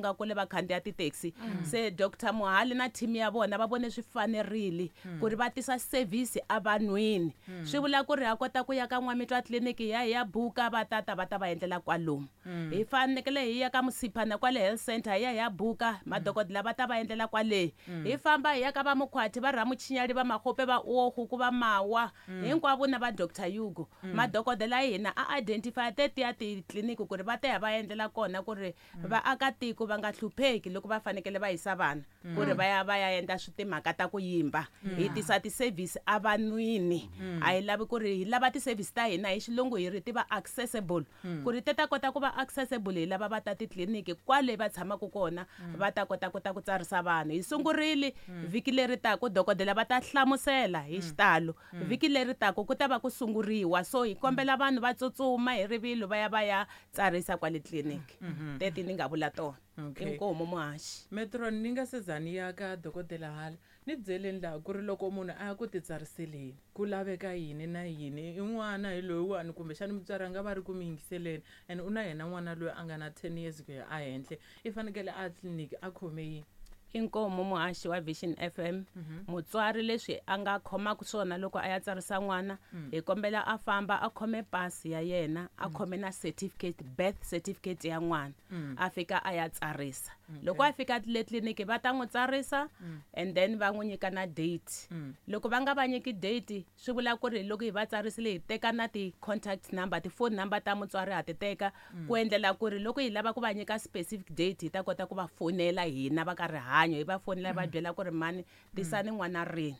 nga kule va khandziya ti-taxi. Se Dr Mohale na team ya vona va vone swi fanerile ku ri va tisa service evanhwini. Swi vula ku ri ha kota ku ya ka N'wamitwa tliliniki hi ya hi ya buka, va tata va ta va endlela kwalomu. Hi fanekele hi ya ka Musiphana kwale health center hi ya hi ya buka, madokodela va ta va endlela kwale. Hi famba hi ya ka va Mukhwathi, va Ramuchinyali, va Makgope, va Uogu, ku va Mawa, hinkwavo na va Doctor Hugo. Madokodela ya hina a identify tetiya titliliniki ku ri va ta ya va endlela kona ku ri vaakatiko va nga hlupheki loko va fanekele va yisa vana ku ri va ya va ya endla swi timhaka ta ku yimba. Hi tisa ti-service evanhwini. A hi lavi ku ri hi lava ti-service ta hina hi xilungu hi ri ti va accessible. Ku ri ti ta kota ku va accessible hi lava va ta titliliniki kwale va tshamaka kona, va ta kota ku ta ku tsarisa vanhu. Hi sungurile vhiki leri taka, dokodela va ta hlamusela hi xitalo. Vhiki leri taka ku ta va ku sunguriwa, so hi kombela vanhu va tsutsuma hi rivilo va ya va ya tsarisa kwale tliliniki. Teti ni nga vula tona. Inkomu muhaxi. Metron, ni nga se za ni ya ka dokodela hala, ni byeleni laha ku ri loko munhu a ya ku titsariseleni ku laveka yini na yini. I n'wana hi loyiwani, kumbexani mutswari a nga va ri ku mi yingiseleni, and u na yena n'wana loyi a nga na 10 years ku ya ehenhla, i fanekele a tliliniki a khome yini? Inkomu muhaxi wa Vision FM. Mutswari leswi a nga khomaka swona loko a ya tsarisa n'wana, hi kombela a famba a khome pasi ya yena, a khome na certificate, birth certificate ya n'wana, a fika a ya tsarisa. Loko a fika le tliliniki va ta n'wi tsarisa, and then va n'wi nyika na date. Loko va nga va nyiki date, swi vula ku ri loko hi va tsarisile hi teka na ti-contact number, ti-phone number ta mutswari ha ti teka, ku endlela ku ri loko hi lava ku va nyika specific date hi ta kota ku va fonela hina va ka rihanyo, hi va fonela va byela ku ri mani tisani n'wana rini.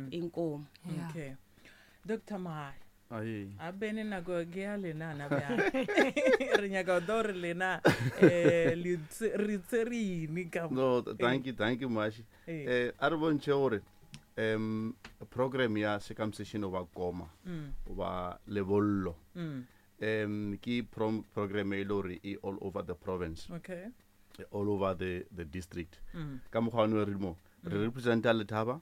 Inkomu. Okay. Dr Mohale. Aye. A bene nako ke ya lena na bjale. Re nyaka go re lena, le tsere yini ka mo? No, thank you, thank you Mashi. A re bontšhe gore program ya circumcision o ba koma, o ba lebollo. Ke program e le gore e all over the province. All over the district. Ka mokgwa wa re mo, re representa Letaba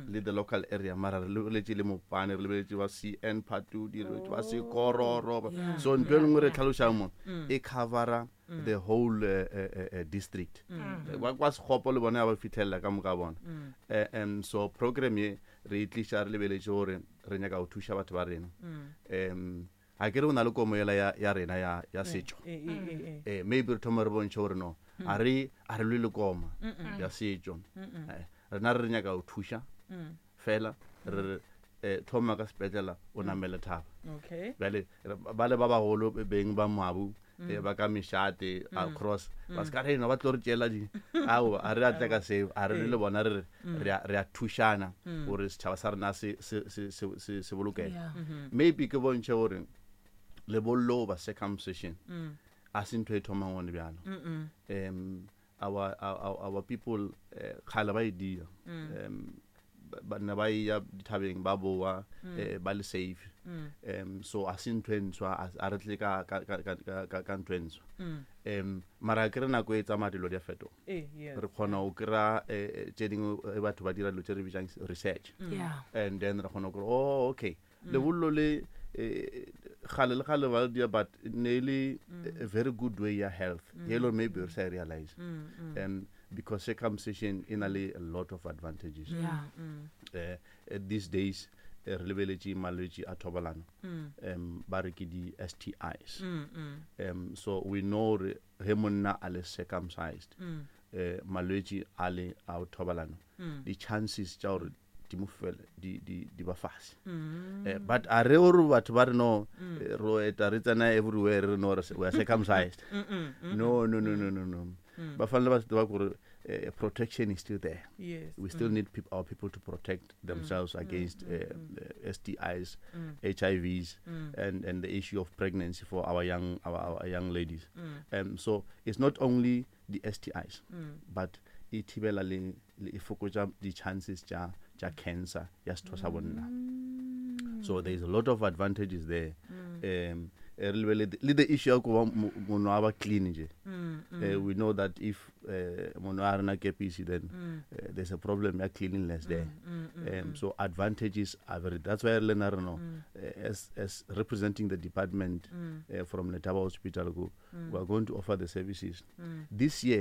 le the local area, mara re lebeletše le Mopane, re lebeletše ba CN Phatudi, re lebeletše ba Sekororo. So ntho e nngwe re tlhalošang mo, e covera the whole district. Ba kwa Sekgopo le bone ba fitlhelela ka moka bona. So program ye re e tliša re lebeletše gore re nyaka go thuša batho ba rena. Ha ke re o na le komo ela ya rena ya setšo. Maybe re thoma re bontšhe gore no, a re lwe le koma ya setšo. Rena re nyaka go thuša fela, re re thoma ka sepetlela o namele thaba. Bjale ba le ba bagolo beng ba moabu, ba ka mešate across, ba se ka re no ba tlo re tšeela di. Ao, a re atle ka seo, a re le bona re re a thušana gore setšhaba sa rena se bolokege. Maybe ke bontšhe gore lebollo ba circumcision a se ntho e thomang gone bjalo. Our people kgale ba e dia. Ba ne ba ya dithabeng ba boa, ba le safe. So a se ntho e ntshwa, a re tle ka ntho e ntshwa. Mara ke re nako e tsamaya dilo di a fetoga. Re kgona go kry-a tše dingwe, batho ba dira dilo tše re bitsang research. And then re kgona go kry-a, oh, okay. Lebollo le gale le gale ba dia, but ne le a very good way ya health. Ye lo maybe re sa realize. Because circumcision e na le a lot of advantages. These days, re lebeletše malwetši a thobalano. Ba re ke di S T Is. So we know re he monna a le circumcised, malwetši a le a thobalano, di chances tša gore di mo fele, di ba fase. But a re gore batho ba re no, ro eta re tsena everywhere re no re we are circumcised. No, no, no, no, no, no. Ba fanele ba se tseba gore protection is still there. We still need our people to protect themselves against S T Is, H I Vs, and the issue of pregnancy for our young ladies. So it's not only the S T Is, but e thibela le e fokotša di-chances tša cancer ya setho sa bonna. So there is a lot of advantages there. Re lebelele le the issue ya go ba mono a ba clean nje. We know that if mono a rena kepisi, then there's a problem ya cleanliness there. So advantages are very, that's why re lena re no, as representing the department, from Letaba Hospital, go, we are going to offer the services. This year,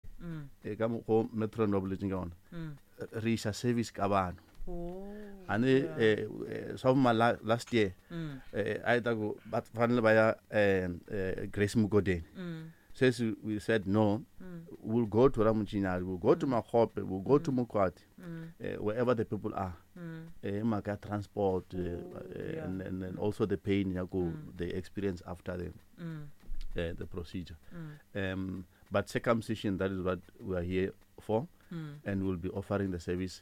Ka mokgo metron ba boletseng ka ona, re isa service ka vanhu. Oh, A ni swa vuma last year a yi ta ku va fanele va ya Grace Mugodeni. Sweswi we said no, we'll go to Ramuchinyari, we'll go to Makgope, we'll go to Mokwati, wherever the people are. Hi mhaka ya transport, and also the pain ya ku they experience after the procedure. But circumcision, that is what we are here for, and we'll be offering the service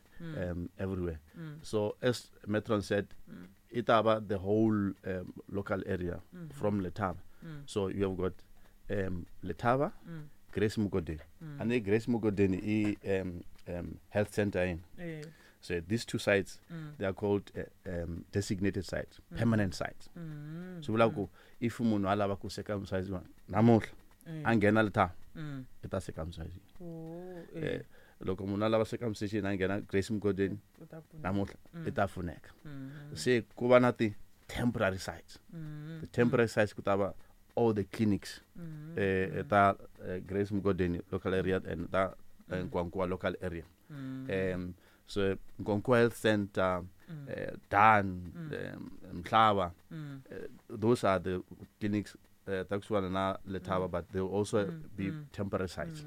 everywhere. So as Metron said, itaba the whole local area from Letaba. So you have got Letaba, Grace Mugodeni, and the Grace Mugodeni i health center in. So these two sites, they are called designated sites, permanent sites. So vula ku if munhu a lava ku circumcise namuntlha a nghena Letaba, i ta circumcise. Oh, Loko munhu a lava circumcision a nghena Grace Mugodeni u ta pfuna. namuntlha i ta pfuneka. Se ku va na ti temporary sites. The temporary sites ku ta va all the clinics ta Grace Mugodeni local area and ta Nkowankowa local area. So Nkowankowa Health Center, Dan, Mhlaba, those are the clinics ta kusuhana na Letaba, but they will also be temporary sites.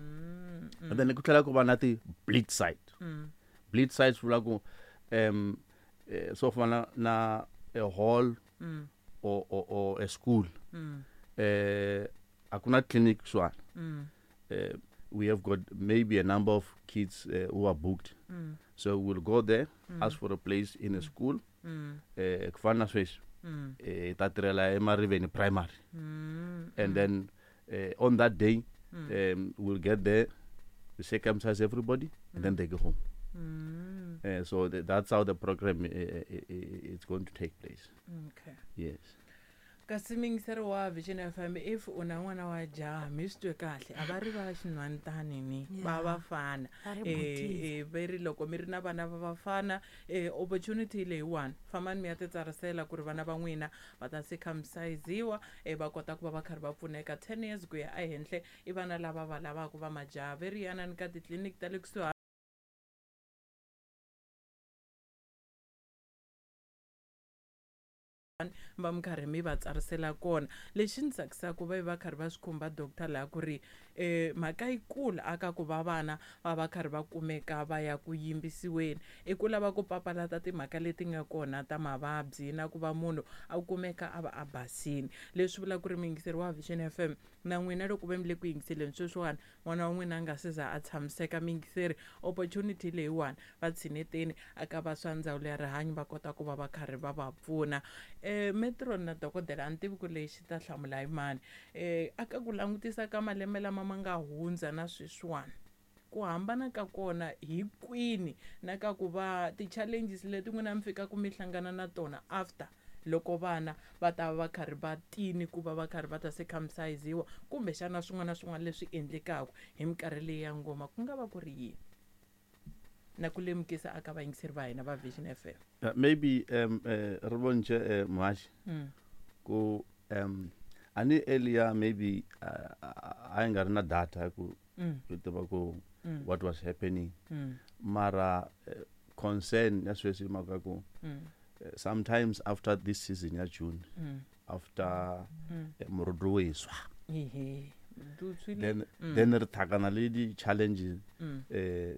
And then ku tlhela ku va na ti bleed site. Bleed sites vula ku so fana na a hall or a school. A ku na clinic kusuhana. We have got maybe a number of kids who are booked. So we'll go there, ask for a place in a school. Ku fana na sweswi, hi ta tirhela eMariveni Primary. And then on that day, we'll get there, we circumcise everybody, and then they go home. So that's how the program is going to take place. Okay. Yes. Kasi muyingiseri wa Vision FM, if u na n'wana wa jaha, mi swi twe kahle, a va ri va xinhwantani ni va vafana. Va ri butiza. Ve ri loko mi ri na vana va vafana, opportunity leyiwani, fambani mi ya titsarisela ku ri vana va n'wina va ta circumcisiwa, va kota ku va va karhi va pfuneka 10 years ku ya ehenhla. I vana lava va lavaka va majaha, ve ri yanani ka titliliniki ta le kusuhani va mi karhi mi va tsarisela kona. Lexi ni tsakisaka va va karhi va swi khumba doctor laha ku ri mhaka yikulu aka ku va vana va va karhi va kumeka va ya ku yimbisiweni i ku lava ku papalata timhaka leti nga kona ta mavabyi na ku va munhu a kumeka a va a basini. Leswi vula ku ri muyingiseri wa Vision FM na n'wina loko ve mi le ku yingiseleni sweswiwani, n'wana wa n'wina a nga se za a tshamiseka muyingiseri, opportunity leyiwani va tshineteni aka va swa ndzawulo ya rihanyo va kota ku va va karhi va va pfuna. Metron na dokodela, a ni tivi ku lexi ta hlamula hi mani. Aka ku langutisa ka malembe lama ma nga hundza na sweswiwani, ku hambana ka kona hi kwini na ka ku va ti-challenges leti n'wina mi fikaka mi hlangana na tona after loko vana va ta va karhi va tini ku va va karhi va ta circumcisiwa, kumbexana swin'wana na swin'wana leswi endlekaka hi minkarhi leyi ya ngoma, ku nga va ku ri yini na ku lemukisa aka vayingiseri va hina va Vision FM? Maybe ri vonche, Muhaxi, ku a ni earlier maybe a yi nga ri na data ku ku tiva ku what was happening. Mara concern ya sweswi hi mhaka ku sometimes after this season ya June, after murudu wu hiswa, Ehe. Du tshwile. Then ri tlhakana le di-challenges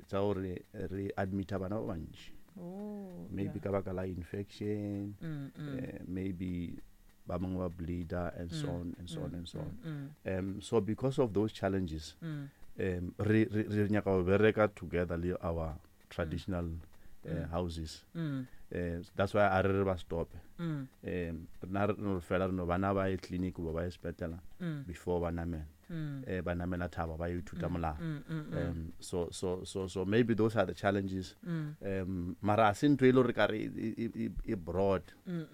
tsa gore re admita bana ba bantši. Oh, maybe yeah. ka baka la infection, maybe ba bangwe ba bleeder and so on and so on and so on. So because of those challenges, re nyaka go bereka together le our traditional houses. That's why a re re ba stop. Rena re no fela re no bana ba ye clinic goba ba ye sepetlele before ba namela. Ba namela thaba ba yo ithuta molao. So maybe those are the challenges. Mara a se ntho e le gore ka re e broad.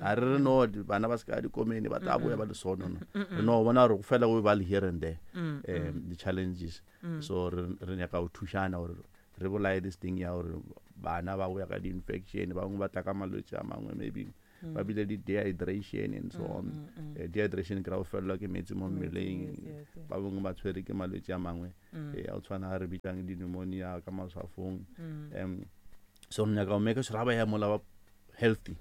A re re no bana ba se ka dikomene ba tla boya ba le sono, no. Re no bona gore go fela go ba le here and there, the challenges. So re nyaka go thušana gore re bolaye this thing ya gore bana ba boya ka di-infection, ba bangwe ba tla ka malwetse a mangwe maybe. Ba bile di dehydration and so on. Dehydration ke ra go felelwa ke metsi mo mmeleng. Yes, yes, yes. Ba bangwe ba tshwere ke malwetse a mangwe a o tshwana a re bitsang di-pneumonia ka maswafong. So re nyaka go make sure ga ba ya mola ba healthy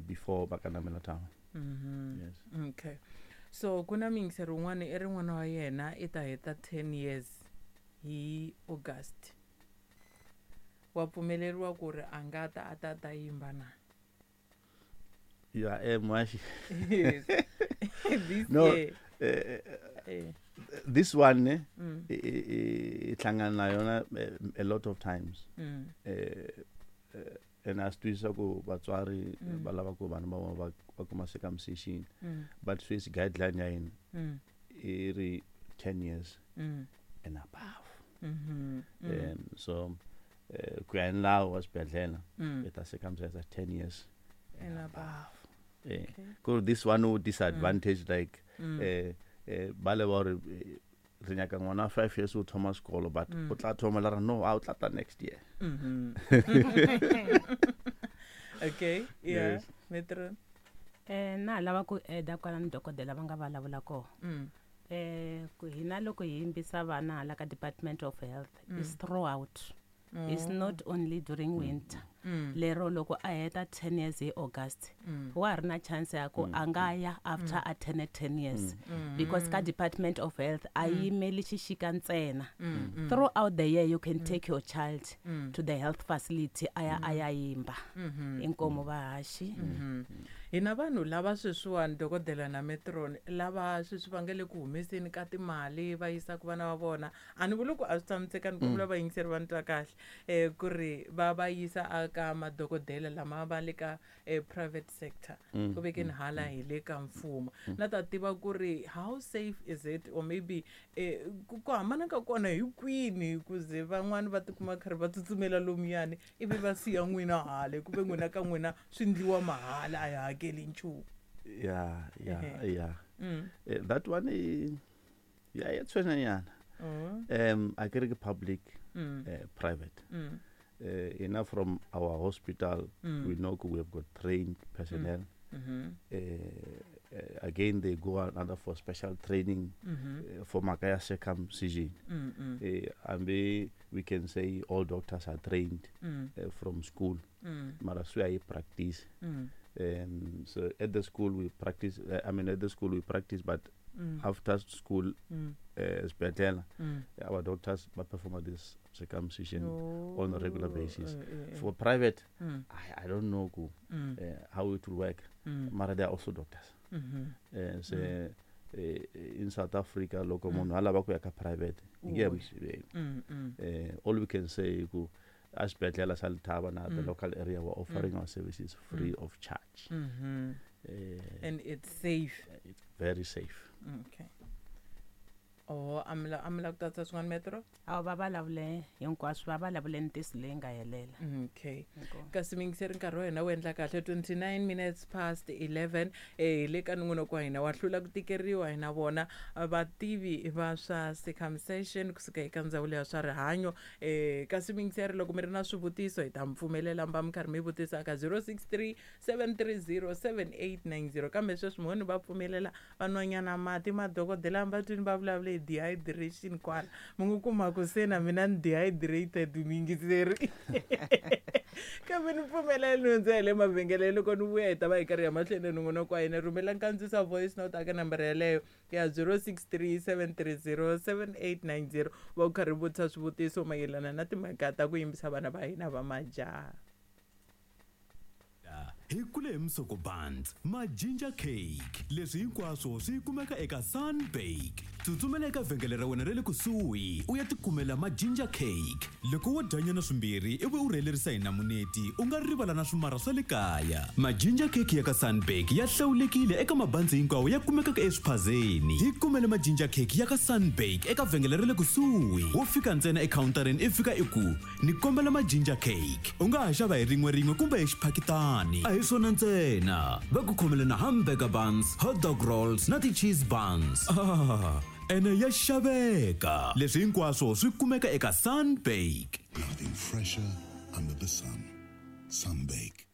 before ba ka namela thaba. Yes. Okay, so ku na miyingiseri wun'wana i ri n'wana wa yena i ta heta 10 years hi August, wa pfumeleriwa ku ri a nga ta a ta ta yimba na? Yeah, mwashi. Yes. This No, year. This one ne, e hlangana na yona a lot of times. And a swi twisisa ku vatswari va lava ku vana va vona va kuma circumcision, but sweswi guideline ya hina i ri 10 years and above. So ku ya hi nawu wa swibedhlele, i ta circumcise 10 years and above. Ku this one wo disadvantage, like ba le ba gore re nyaka ngwana wa 5 years o thoma sekolo, but o tla thoma la re no, a o tla tla next year. Okay, yeah. Yes. Metro. Na ha lava ku eda kwalani dokodela va nga vulavula kona. Ku hina loko hi yimbisa vana hala ka Department of Health is throughout, it's not only during winter. Lero loko a heta 10 years hi August, wa ha ri na chance ya ku a nga ya after a turn 10 years, because ka Department of Health a yimeli xixika ntsena. Throughout the year you can take your child to the health facility a ya a ya yimba. Inkomu vahaxi. Hina vanhu lava sweswiwani, dokodela na metron, lava sweswi va nga le ku humeseni ka timali va yisaka vana va vona, a ni vuli ku a swi tshamisekani, ku vula vayingiseri va ni twa kahle, ku ri va va yisa aka madokodela lama va le ka private sector, ku vekeni hala hi le ka mfumo, na ta tiva ku ri how safe is it, or maybe ku hambana ka kona hi kwini, ku ze van'wani va tikuma karhi va tsutsumela lomuyani ivi va siya n'wina hale, ku ve n'wina ka n'wina swi ndliwa mahala, a hi hakeli nchumu? Yeah. Ehe. Yeah. That one ya ya tshwenyanyana. A ke re ke public, private. Enough from our hospital, we know we have got trained personnel. Again, they go another for special training for mhaka ya circumcision. And we can say all doctors are trained from school, mara swi ya hi practice. So at the school we practice, I mean, at the school we practice, but after school, sibedlela, our doctors ba perform this circumcision on a regular basis. For private, I don't know ku, how it will work, mara they are also doctors. Se in South Africa, loko munhu a lava ku ya ka private, hi nge n'wi siveli. All we can say ku a xibedhlele xa Lethaba na the local area, we're offering our services free of charge. And it's safe? It's very safe. Okay. Oh, a mi la ku tatsa swin'wana, metro? A va vulavule hinkwaswo, va vulavule ntiyiso leyi nga helela. Okay. Inkomu. Kasi miyingiseri, nkarhi wa hina wu endla kahle 29 minutes past 11. Hi le ka nongonoko wa hina wa Hlula ku Tikeriwa, hi na vona vativi va swa circumcision kusuka eka Ndzawulo ya swa Rihanyo. Kasi miyingiseri, loko mi ri na swivutiso, hi ta mi pfumelela mi va mi karhi mi vutisa ka 063 730 7890. Kambe sweswi mhoni va pfumelela vanwanyana mati madokodela va twini va vulavule hi dehydration kwala, mi ngo kuma ku se na mina ni dehydrated, miyingiseri, kambe ni pfumelela ni hundza hi le mavhengeleni. Loko ni vuya, hi ta va hi karhi ya mahlweni nongonoko wa hina. Rhumela nkandziso voice note aka nambara yeleyo ya 063 730 7890, va u karhi vutisa swivutiso mayelana na timhaka ta ku yimbisa vana va hina va majaha. Hi kule hi musoko buns, ma-ginger cake, leswi hinkwaswo swi kumeka eka Sunbake. Tsutsumela eka vhengele ra wena ra le kusuhi u ya tikumela ma-ginger cake. Loko wo dyanyana swimbirhi ivi u rhelerisa hi namuneti, u nga rivala na swimara swa le kaya. Ma-ginger cake ya ka Sunbake ya hlawulekile eka mabandzi hinkwawo ya kumekaka eswiphazeni. Hi kumele ma-ginger cake ya ka Sunbake eka vhengele ra le kusuhi. Wo fika ntsena ekhawuntarini, i fika i ku ni kombela ma-ginger cake. U nga ha xava hi rin'we rin'we kumbe hi xiphakitani. A hi swona ntsena, va ku khomele na hamburger buns, hot dog rolls na ti-cheese buns. Ah, ene ya xaveka. Leswi hinkwaswo swi kumeka eka Sunbake. Nothing fresher under the sun. Sunbake.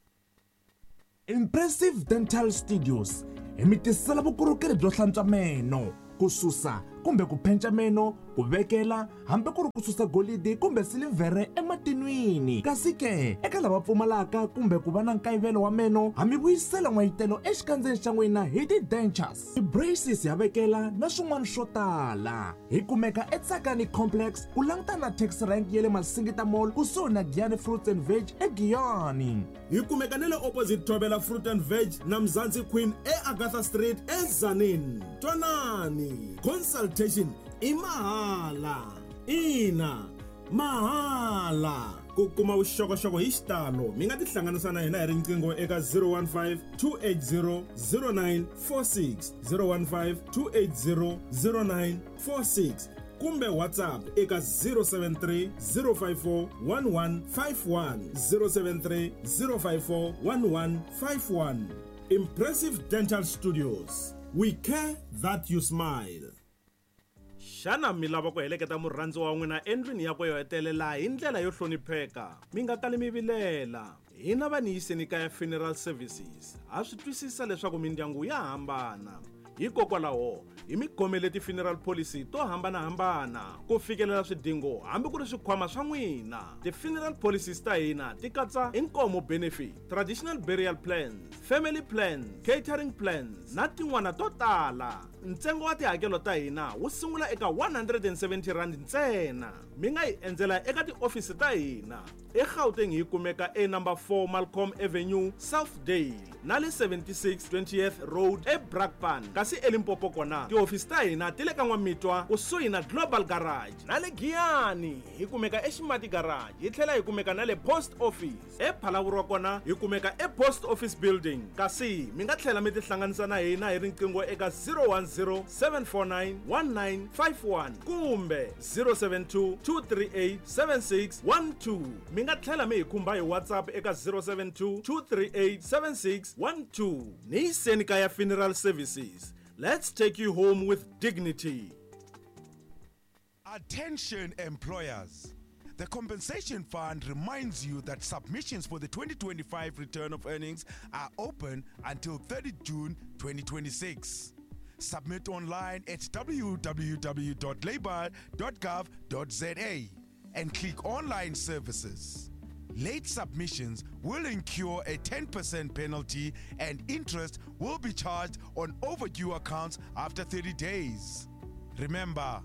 Impressive Dental Studios hi mi tisela vukorhokeri byo hlantswa meno, ku susa kumbe ku phenca meno, ku vekela hambi ku ri ku susa golidi kumbe silivhere ematinwini. Kasi ke eka lava pfumalaka kumbe ku va na nkayivelo wa meno, ha mi vuyisela n'wayitelo exikandzeni xa n'wina hi ti-dentures, ti-braces ya vekela na swin'wana swo tala. Hi kumeka eTsakani Complex ku langutana na taxi rank ya le Masingita Mall kusuhi na Giyani Fruits and Veg eGiyani. Hi kumeka na le opposite Thobela Fruit and Veg na Mzansi Queen eAgatha Street eTzaneen. Twanani, consultation i mahala. Ina, mahala. Ku kuma vuxokoxoko hi xitalo mi nga tihlanganisa na hina hi riqingho eka 015 280 0946, 015 280 0946 kumbe WhatsApp eka 073 054 1151, 073 054 1151. Impressive Dental Studios, we care that you smile. Xana mi lava ku heleketa murhandziwa wa n'wina endlwini yakwe yo hetelela hi ndlela yo hlonipheka? Mi nga kali mi vilela. Hina va Niyiseni Kaya Funeral Services ha swi twisisa leswaku mindyangu ya hambana. Hikokwalaho hi mi khomele ti-funeral policy to hambanahambana ku fikelela swidingo hambi ku ri swikhwama swa n'wina. Ti-funeral policies ta hina ti katsa inkomo benefit, traditional burial plans, family plans, catering plans na tin'wana to tala. Ntsengo wa tihakelo ta hina wu sungula eka 170 rand ntsena. Mi nga hi endzela eka tiofisi ta hina eGauteng, hi kumeka e number 4 Malcolm Avenue, Southdale, na le 76 20th Road eBrakpan. Kasi eLimpopo kona tihofisi ta hina ti le ka N'wamitwa kusuhi na Global Garage, na le Giyani hi kumeka eXimati Garage, hi tlhela hi kumeka na le Post Office. ePhalavurwa kona hi kumeka ePost Office Building. Kasi mi nga tlhela mi tihlanganisa na hina hi riqingho eka 010 749 1951 kumbe 072 238 7612. Mi nga tlhela mi hi khumba hi WhatsApp eka 072 238 7612. Niyiseni Kaya Funeral Services, let's take you home with dignity. Attention employers. The Compensation Fund reminds you that submissions for the 2025 return of earnings are open until 30 June 2026. Submit online at www.labor.gov.za and click Online Services. Late submissions will incur a 10% penalty and interest will be charged on overdue accounts after 30 days. Remember,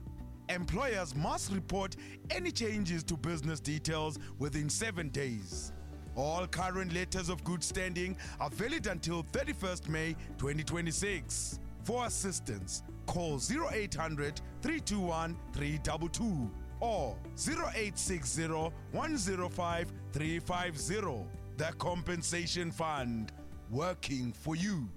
employers must report any changes to business details within 7 days. All current letters of good standing are valid until 31st May 2026. For assistance, call 0800 321 322 or 0860 105 350. The Compensation Fund, working for you.